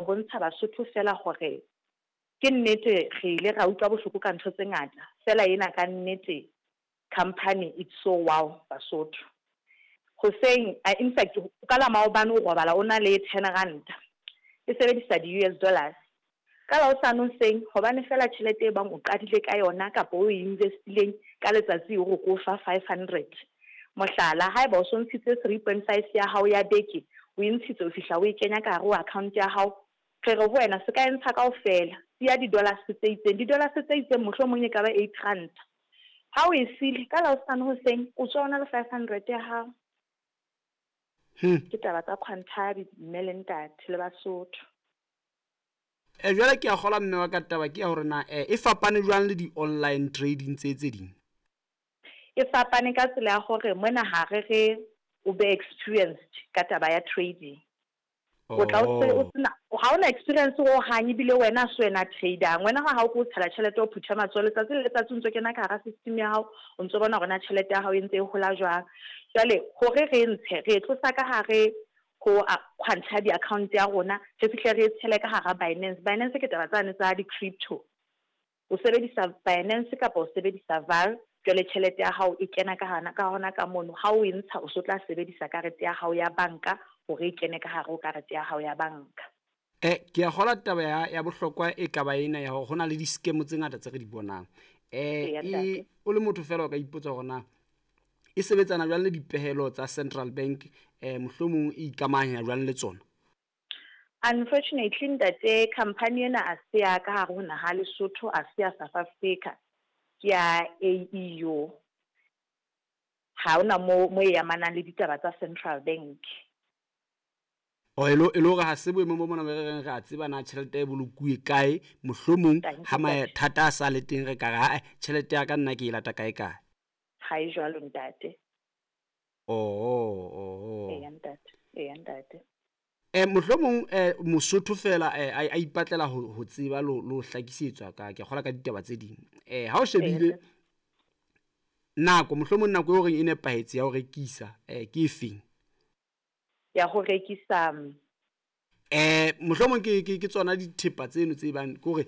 bontsha Basotho fela hore ke nnete re ile ra utlwa bohloko ka ntho tse ngata, fela ena ka nnete company it's so wow Basotho. Hoseng, in fact ka la maobane o robala o na le 10 ranta e sebedisa di-US dollars. Ka la hosane hoseng, hobane fela tjhelete e bang o qadile ka yona kapa o e investileng ka letsatsi o re ko fa 500. Mohlala, haeba o so ntshitse 3.5 ya hao ya beke, o e ntshitse o fihla o e kenya ka hare ho account ya hao, re re ho wena se ka e ntsha kaofela, siya di-dollars tse itseng. Di-dollars tse itseng mohlomong e ka ba 8 ranta. Ha o e sile, ka la hosane hoseng o tswa o na le 500 ya hao. Ke taba tsa Quantabi mme le ntate le Basotho. Jwale ke a kgolwa mme wa ka taba ke ya hore na e fapane jwang le di-online trading tse tse ding? E fapane ka tsela ya hore mona ha re re o be experienced ka taba ya trading. O tla o se o sena ha ona experience ho hang, ebile wena se wena trader-ang. Wena ha o ko tshela tjhelete o phutha matsoho letsatsi le letsatsi o ntso kena ka hara system ya hao, o ntso bona hore na tjhelete ya hao e ntse e hola jwang. Jwale hore re ntshe, re e tlosa ka hare ho Quantabi account ya rona, re fihle re e tshele ka hara Binance. Binance ke taba tsane tsa di-crypto. O sebedisa Binance kapa o sebedisa Val, jwale tjhelete ya hao e kena ka hana ka hona ka mono. Ha o e ntsha o so tla sebedisa karete ya hao ya banka hore e kene ka hare ho karete ya hao ya banka. Ke a kgolwa taba ya bohlokwa e ka ba ena ya hore ho na le di-scam tse ngata tse re di bonang. O le motho fela o ka ipotsa hore na e sebetsana jwang le dipehelo tsa Central Bank, mohlomong e ikamahanya jwang le tsona? Unfortunately ntate, company ena a se ya ka hare ho naha Lesotho, a se ya South Africa, ke ya AEU. Ha hona mo e amanang le ditaba tsa Central Bank. O e le hore ha se boemong bo mona re reng re a tseba na tjhelete e bolokuwe kae, mohlomong ha mathata a sa le teng re ka re ha tjhelete ya ka nna ke e lata kae kae. Ha e jwalo ntate. Oh. Eya ntate, eya ntate. Mohlomong Mosotho fela a ipatlela ho tseba lo hlakisetswa ka ke kgola ka ditaba tse ding. Ha o shebile nako, mohlomong nako e horeng e nepahetse ya ho rekisa ke efeng? Ya ho rekisa mohlomong ke tsona dithepa tseno tse bang ke hore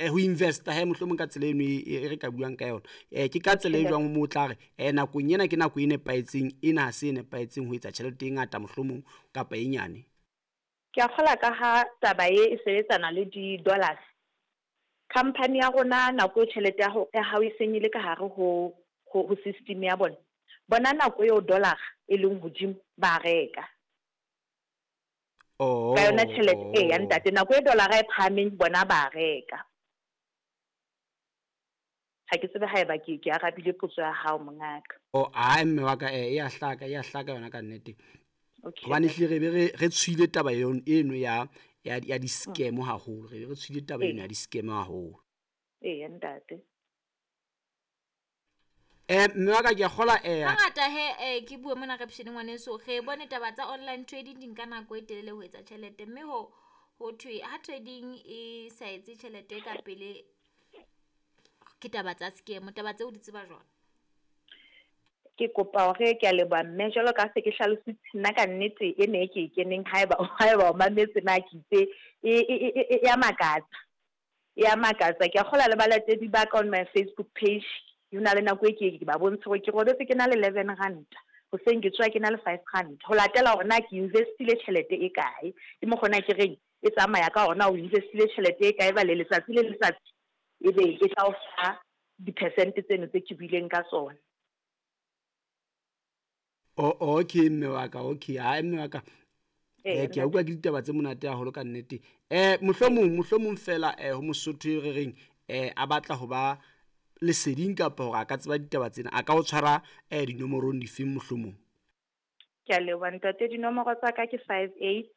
ho investa he mohlomong ka tsela eno e re ka buang ka yona. Ke ka tsela e jwang mo tla re nakong ena ke nako e nepahetseng, ena ha se e nepahetseng ho etsa tjhelete e ngata mohlomong kapa e nyane? Ke a kgola ka ha taba e sebetsana le di-dollars. Company ya rona nako e tjhelete ya hao e seng e le ka hare ho system ya bona. Bona nako eo dollar e leng hodimo ba reka. Ka yona tjhelete e ya ntate, nako e dollar e phahameng bona ba reka. Ha ke tsebe haeba ke arabile potso ya hao mongaka. Oh, ai mme wa ka e ya hlaka yona ka nnete. Hobane hle re be re tshwile taba eno ya di-scam haholo, re be re tshwile taba eno ya di-scam haholo. Eya ntate. Mme wa ka ke a kgola hangata he ke bue mona reption ngwaneso, re bone taba tsa online trading di nka nako e telele ho etsa tjhelete, mme ho thwe ha trading e sa etse tjhelete ka pele ke taba tsa scam. Taba tseo di tseba jwang? Ke kopa hore ke a leboha mme, jwalo ka se ke hlalositse nna ka nnete e ne ke e keneng haeba o mametse na ke itse e ya makatsa. E ya makatsa. Ke a kgola le balatedi ba ka on my Facebook page. Ho na le nako e ke ba bontshe hore ke robetse ke na le 11 ranta, hoseng ke tswa ke na le 5 ranta. Ho latela hore na ke investile tjhelete e kae. Ke mo kgona ke reng e tsamaya ka hore na o investile tjhelete e kae ba le letsatsi le letsatsi ebe e tla o fa di-percent tseno tse ke buileng ka tsona. Oh, okay mme wa ka, okay. Ha mme wa ka. Ke a utlwa ke ditaba tse monate haholo ka nnete. Mohlomong fela ho Mosotho e re reng a batla ho ba leseding kapa hore a ka tseba ditaba tsena, a ka o tshwara dinomorong difeng mohlomong? Ke a leboha ntate, dinomoro tsa ka ke 58